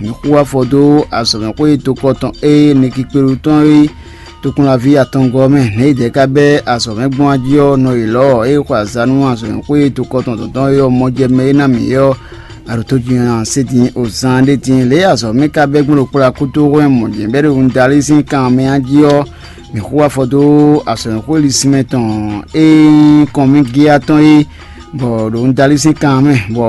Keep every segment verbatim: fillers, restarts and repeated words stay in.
Mǐ xú afɔ dó azɔ̌mɛxwé tokɔ tɔn e Nikikpelu tɔn e tokúnlaví atɔngɔ́ mɛ nɛ̌ yi dɛ̌ ka bɛ́ azɔ̌mɛ gbɔn jí ɔ́ nɔ yělɔ́ ɔ́, é xɔ azǎn nú azɔ̌mɛxwé tokɔ tɔn tɔn tɔn e ɔ́ mɔ jɛ mɛ e ná mǐ é ɔ́, aɖǒ tó jí ɔ́ ná se din o zan ɖé din. Lě e azɔ̌mɛ ka bɛ́ gbɔn ɖo kplá kútóxwɛ́ mɔ̌ jɛ́n bɛ́ ɖo un dalí sín kan mɛ ɔ́ jí ɔ́, mǐ xú afɔ dó azɔ̌mɛxwé lisínmɛ tɔn e nyí kɔnmígíá tɔn é, bɔ ɖo un dalí sín kan mɛ, bɔ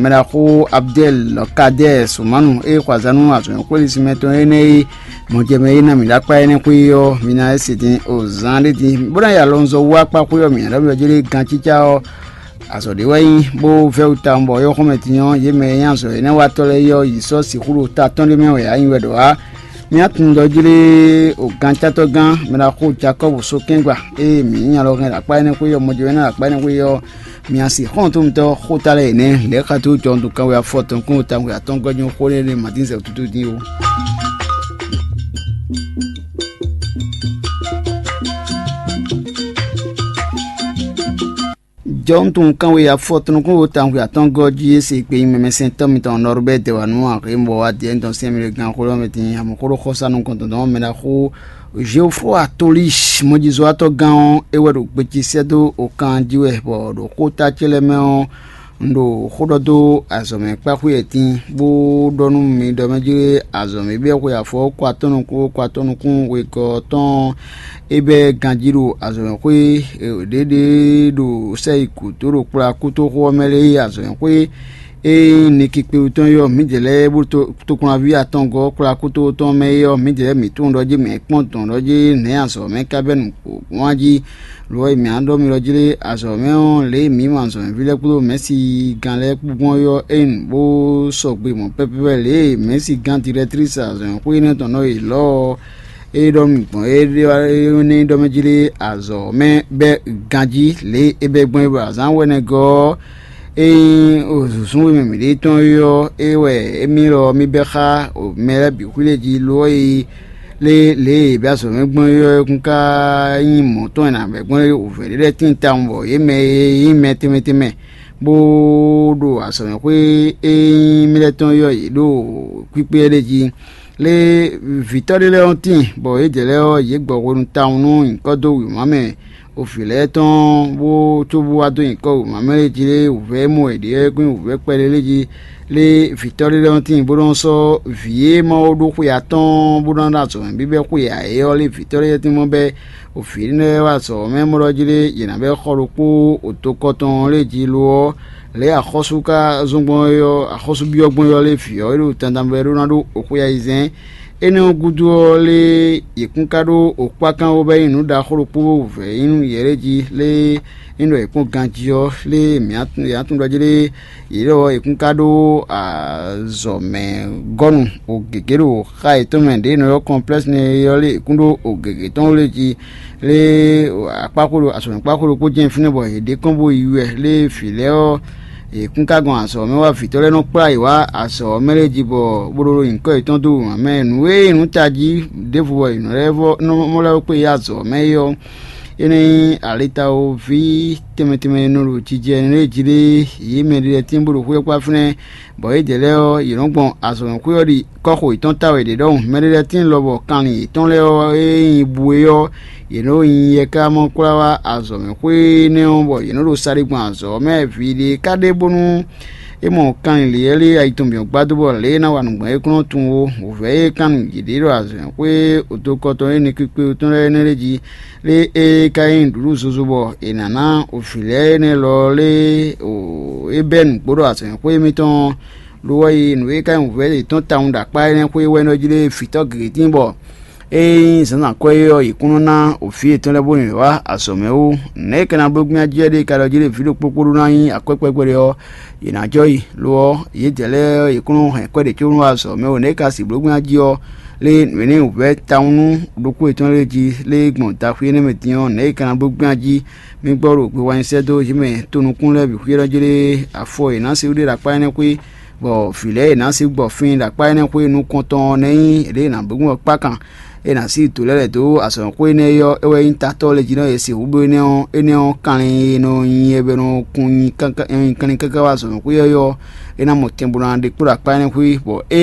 mɛɖaxó Abdɛl Kadɛ́ Sumanu e xɔ azǎn nú azɔ̌mɛxwé lisínmɛ tɔn énɛ́ e mɔjɛmɛ e ná mǐ ɖo akpá énɛ́ xwé ɔ́, mi ná se din o zan ɖé din, bó ná yi alɔnzɔ́ wú akpá xwé ɔ́ mǐ ná ɖɔ mì ɔ́ jí lé gancícá ɔ́. Azɔ̌ ɖé wɛ nyí bó vɛ́ wú tawun bɔ yɔ́xɔ́mɛ din ɔ́, yě mɛ e nyí azɔ̌ énɛ́ watɔ́ lɛ́ɛ é ɔ́, yě sɔ́ sixú ɖo ta tɔn ɖé mɛ wɛ ǎ nyi wɛ ɖɔ ǎ. Mì nyi atundɔ́ jí lé o gancátɔ́gán mɛ ɖaxó Jakɔ́bu sókɛ́ngba ée mǐ nyí alɔ hɛn ɖo akpá énɛ́ xwé ɔ́, mɔjɛmɛ énɛ́ ɖo akpá énɛ́ xwé ɔ́, mì nyi asi xɔ́ntɔn mitɔn xóta lɛ́ɛ yě nɛ́ lɛ̌ xa tó jɔndu kanwe afɔtɔn kún tawun atɔ́ngɔ́ jí xó énɛ́ ɖé Matín zɛ wútútú dín ó. Jɔwúntun kanwe afɔtɔn kún wo tawun atɔ́ngɔ́ jí é se gbe nyi mɛmɛsɛntɔ́ mitɔn Nɔrubɛ́ dɛ wǎ nú axě bɔ wá diɛ tɔn sɛn mì ɖo gan xó lɔ́ mɛ din amɔ̌ xó ɖo xɔsa nukɔn tɔn mɛ ɖaxó Geofo Atolísi mɔjizɔ́watɔ́ gán ɔ́, é wɛ ɖo gbe ce sɛ́ dó okan jí wɛ, bɔ ɖo xóta ce lɛ́ɛ mɛ ɔ́, un ɖo xó ɖɔ dó azɔ̌mɛ kpáxwé ɛtín, bó ɖɔ nú mi ɖɔ mɛ jí azɔ̌mɛ biɔ xwe afɔ kó atɔ́ nukún kó atɔ́ nukún wegɔ́ tɔn é bɛ́ ganjí ɖo azɔ̌mɛxwé ɖěɖě ɖo sɛ́yi gǔdo ɖo kplá kútóxó ɔ́ mɛ lɛ́ɛ yi azɔ̌mɛxwé e nyí Nikikpewú tɔn é ɔ́, mǐdɛɛ lɛ́ɛ bó tokpɔnví atɔngɔ́ kplá kútóxó tɔn mɛ é ɔ́, mǐdɛɛ lɛ́ɛ mǐ tunwun ɖɔ jí mǐ kpɔ́n dɔ̌n ɖɔ jí nɛ̌ azɔ̌mɛ ka bɛ́ nǔ gbɔn jí. Lo ɔ́, mǐ á ɖɔ mi ɖɔ jí lé, azɔ̌mɛ ɔ́, lě e mǐ mɔ azɔ̌mɛví lɛ́ɛ kpódó mɛ̌si gán lɛ́ɛ kpó gbɔn é ɔ́, é nyí bó sɔgbe mɔ̌ pɛ́pɛ́pɛ́ lě e mɛ̌si gán dirɛtrísi azɔ̌mɛxwé énɛ́ tɔn nɔ yi lɔ̌ ɔ́, é ɖɔ nú mì gbɔn é ɖɔ mɛ jí lé, azɔ̌ mɛ bɛ́ ganjí lě e é bɛ́ gbɔn é ɖo azǎn wɛnɛgɔ́ ɔ́, é nyí zǔzún e mɛ mǐɖée tɔn é ɔ́, é wɛ émí lɔ mì bɛ́ xá mɛ lɛ́ɛ bǐ xwílé jí lo ɔ́ yi lé lě e è bɛ́ azɔ̌ mɛ gbɔn é ɔ́, é kún ka nyí mɔ̌ tɔn e è nǎ bɛ́ gbɔn é wǔvɛ́ ɖé lɛ́ɛ tíin tawun bɔ yě mɛ e nyí mɛ tɛnmɛ tɛnmɛ bó ɖo azɔ̌mɛxwé e nyí mì lɛ́ɛ tɔn é ɔ́, yě ɖo kpíkpé ɖé jí. Lé vǐtɔ́ ɖé lɛ́ɛ ɔ́ tíin, bɔ yědɛɛ lɛ́ɛ ɔ́, yě gbɔ hwenu tawun nú nyǐkɔ dó wěma mɛ ovǐ lɛ́ɛ tɔn, bó cóbó wá dó nyǐkɔ wěma mɛ lɛ́ɛ jí lé wǔvɛ́ e mɔ è ɖe ɔ́, é kún nyí wǔvɛ́ kpɛɖé lɛ́ɛ jí. Lé vǐtɔ́ ɖé lɛ́ɛ ɔ́ tíin, bó nɔ́ sɔ́ vǐ e Mawu ɖó xwe atɔ́ɔ́n bó ná ɖó azɔ̌ mɛ bíbɛ́ xwe ǎ é ɔ́, lé vǐtɔ́ lɛ́ɛ tín mɔ bɛ́ ovǐ énɛ́ lɛ́ɛ wá azɔ̌ mɛ mɔ ɖɔ jí lé yě ná bɛ́ xɔ ɖokpó oto kɔ tɔn lɛ́ɛ jí lo ɔ́, lě e axɔ́sú ka zɔ́n gbɔn é ɔ́, axɔ́sú byɔ́ gbɔn é ɔ́, lé vǐ ɔ́ e ɖo dandan bɔ é ɖó ná ɖó oxwe ayizɛ́n. Énɛ́ ɔ́ gúdo ɔ́, lé yě kún ka ɖó okpákán ó bɔ é nyí nǔ ɖaxó ɖokpó vɛ̌ nyí nú yě lɛ́ɛ jí, lé é nyí ɖɔ yě kpɔ́n ganjí ɔ́, lé mǐ yě ná tunwun ɖɔ jí lé yě ɖɔ yě kún ka ɖó azɔ̌mɛ gɔ́nu o gěgé ɖo xá yětɔn mɛ ɖě è nɔ ylɔ́ kɔnplɛ́sni é ɔ́, lé yě kún ɖó o gěgé tɔn ó lé jí. Lé akpáxwé ɖo azɔ̌mɛ kpáxwé ɖokpó jɛ́n fínɛ́ bɔ yě ɖe kɔn bó yi wɛ lé vǐ lɛ́ɛ ɔ́, yě kún ka gɔn azɔ̌ mɛ wá vǐtɔ́ lɛ́ɛ nɔ kplá yě wá azɔ̌ mɛ lɛ́ɛ jí bɔ bó ɖó nyǐkɔ yětɔn dó wěma mɛ. Nǔ e nyí nǔ tají ɖěvo bɔ yě nɔ lɛ́ vɔ nɔ mɔ lɛ́ kpé yi azɔ̌ mɛ é ɔ́, é nɔ nyí alitawoví tɛnmɛ tɛnmɛ e nɔ ɖo jijɛ lɛ́ɛ jí lé yě mɛ ɖé lɛ́ɛ tín bó ɖo xwé ɔ́ kpá fínɛ́, bɔ yědɛɛ lɛ́ɛ ɔ́, yě nɔ gbɔn azɔ̌mɛxwé ɔ́ ɖi kɔ́xo yětɔn ta wɛ ɖě ɖɔhun. Mɛ ɖé lɛ́ɛ tíin lɔbɔ kanlin yětɔn lɛ́ɛ ɔ́ e nyí bu é ɔ́, yě nɔ nyi yɛ ká mɔ kwlá wá azɔ̌mɛxwé énɛ́ ɔ́, bɔ yě nɔ ɖo sa ɖé gbɔn azɔ̌ ɔ́ mɛ. Vǐ ɖé ka ɖe bónú é mɔ kanlin lěɛ́lé ayi tɔn bǐ ɔ́ gbadó bɔ lě e é ná wa nǔ gbɔn é kún nɔ tunwun ó. Wǔvɛ́ e kan nú yěɖée ɖo azɔ̌mɛxwé odokɔtɔn e nɛkpikpe tɔn lɛ́ɛ énɛ́ lɛ́ɛ jí lé é ka nyí nǔɖuɖu zozo bɔ è nǎ ná vǐ lɛ́ɛ énɛ́ lɔ lé é bɛ́ nǔgbó ɖo azɔ̌mɛxwé émítɔn ɔ́. Lo ɔ́ yi nǔ e ka nyí wǔvɛ́ yětɔn tawun ɖo akpá énɛ́ xwé wɛ nɔ jí lé vǐtɔ́ gěgé tíin bɔ ée nyí zǎnzǎn kɔ́ é ɔ́, yě kún nɔ ná vǐ yětɔn lɛ́ɛ bónú yě wá azɔ̌ mɛ ó. Nɛ̌ è ka ná bló gbín ají ɔ́ ɖe ka ɖɔ jí lé vǐ ɖokpó kpó ɖó ná nyí akwɛ́kpɛ́ gbe ɖé ɔ́, yě ná jɔ yi. Lo ɔ́, yědɛɛ lɛ́ɛ ɔ́, yě kún nɔ hɛn kwɛ́ ɖě có nú azɔ̌ mɛ ó. Nɛ̌ è ka sixú bló gbín ají ɔ́, lé nǔ énɛ́ wǔvɛ́ tawun nú ɖokpó yětɔn lɛ́ɛ jí lé gbɔn daxwé énɛ́ mɛ din ɔ́, nɛ̌ è ka ná bló gbín ají? Mi gbɔ ɖo gbe wá nyi sɛ́ dó yě mɛ tonukún lɛ́ɛ bǐ xwíyɔ́ jí lé afɔ e è nǎ sixú ɖe ɖo akpá énɛ́ xwé, bɔ vǐ lɛ́ɛ e è nǎ sixú gbɔ fín ɖo akpá énɛ́ xwé nukɔntɔn ɔ́ ná nyí yě ɖě è nǎ bló gbɔn kpákan, é nǎ sí dǒ lɛ́ lɛ̌ dó azɔ̌mɛxwé énɛ́ ɔ́, é wɛ nyí tatɔ́ lɛ́ɛ jí nɔ e sixú bló énɛ́ ɔ́, énɛ́ ɔ́ kanlin e nɔ nyi ɛ bɔ è nɔ kun nyi kanlin káká wá azɔ̌mɛxwé ɔ́, é ná mɔ tɛnbɔ́ ná ɖe kpó ɖo akpá énɛ́ xwé, bɔ é